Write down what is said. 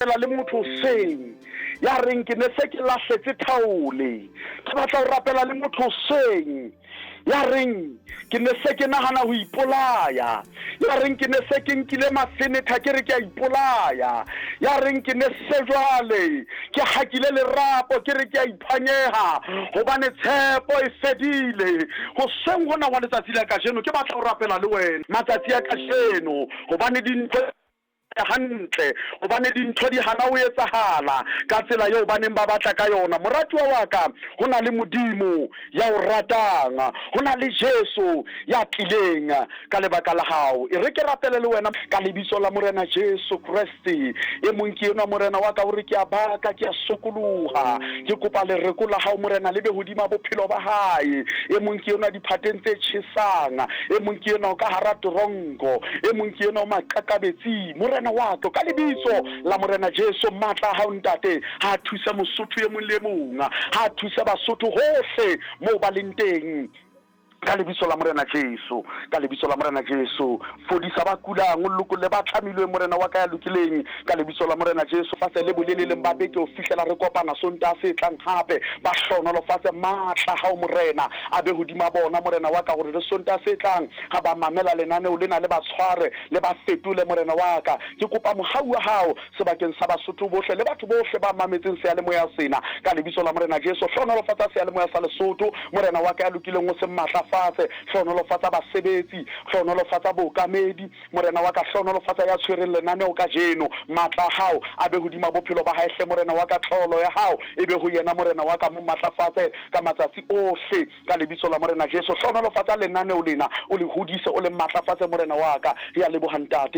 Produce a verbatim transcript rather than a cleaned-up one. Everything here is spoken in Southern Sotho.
Le motho hoseng ya reng ke ne se ke lahletse thaole. Ke batla ho rapela le motho hoseng ya reng ke ne se ke nahana ho ipolaya, ya reng ke ne se ke nkile mafenetha ke re ke a ipolaya, ya reng ke ne se jwale ke hakile lerapo ke re ke a iphanyeha hobane tshepo e fedile. Hoseng hona wa letsatsi la kajeno ke batla ho rapela le wena matsatsi a kajeno, hobane dintho hantle, hobane dintho di hana ho etsahala ka tsela eo ba neng ba batla ka yona. Moratuwa wa ka, ho na le Modimo ya o ratang, ho na le Jesu ya tlileng ka lebaka la hao. E re ke rapele le wena ka lebitso la Morena Jesu Kreste. E mong ke enwa, Morena wa ka, hore ke a baka, ke a sokoloha, ke kopa lereko la hao, Morena, le be hodima bophelo ba hae. E mong ke enwa diphateng tse tjhesang, e mong ke enwa ka hara toronko, e mong ke enwa maqakabetsing. Morena wa ka, ka lebitso la Morena Jesu, matla a hao, Ntate, ha thusa Mosotho e mong le e mong, ha thusa Basotho hohle moo ba leng teng, ka lebitso la Morena Jesu. Ka lebitso la Morena Jesu, fodisa ba kulang, o lokolle ba tlamilweng, Morena wa ka ya lokileng, ka lebitso la Morena Jesu. Fatshe le boleleleng ba beke ho fihlela re kopana Sontaha se tlang hape, ba hlohonolofatse. Matla hao, Morena, a be hodima bona, Morena wa ka, hore le Sontaha se tlang ha ba mamela lenaneo lena le ba tshware, le ba fetole. Morena wa ka, ke kopa mohau wa hao sebakeng sa Basotho bohle le batho bohle ba mametseng seyalemoya sena, ka lebitso la Morena Jesu. Hlohonolofatsa seyalemoya sa Lesotho, Morena wa ka ya lokileng, o se matlafatse. Hlohonolofatsa basebetsi, hlohonolofatsa bookamedi, Morena wa ka. Hlohonolofatsa ya tshwereng lenaneo kajeno, matla a hao a be hodima bophelo ba hae hle, Morena wa ka. Tlolo ya hao e be ho yena, Morena wa ka, mo matlafatse ka matsatsi ohle, ka lebitso la Morena Jesu. Hlohonolofatsa lenaneo lena, o le hodise, o le matlafatse, Morena wa ka. Re a leboha, Ntate.